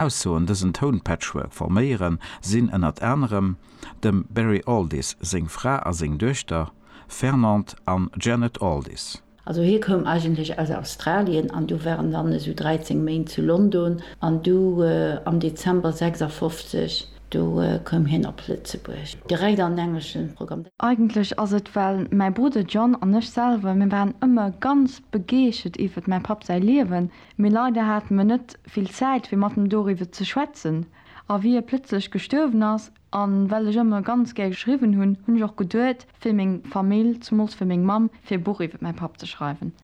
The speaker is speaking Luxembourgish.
Aussoen dësen Toun-Patchwork forméieren, sinn ënnert anerem dem Barry Alldis seng Fra a seng Duechter, Fernande an Janet Alldis. Also hie koum eigentlech aus Australien an du war en dann esou 13 Méint zu London an du am Dezember 56, do koum hien op Lëtzebuerg, direkt an den engleschen Programm. Eigentlech ass et well mäi Brudder John an ech selwer, mir waren ëmmer ganz begeeschert iwwert mäi Papp säi Liewen, Mee leider hate mer net vill Zäit fir mat em doriwwer ze schwätzen. A wéi e plëtzlech gestuerwen ass, a well ech ëmmer ganz gär geschriwwen hunn, hunn ech och geduet fir meng Famill, zemools fir meng Mamm, fir e Buch iwwer mäi Papp ze schreiwen.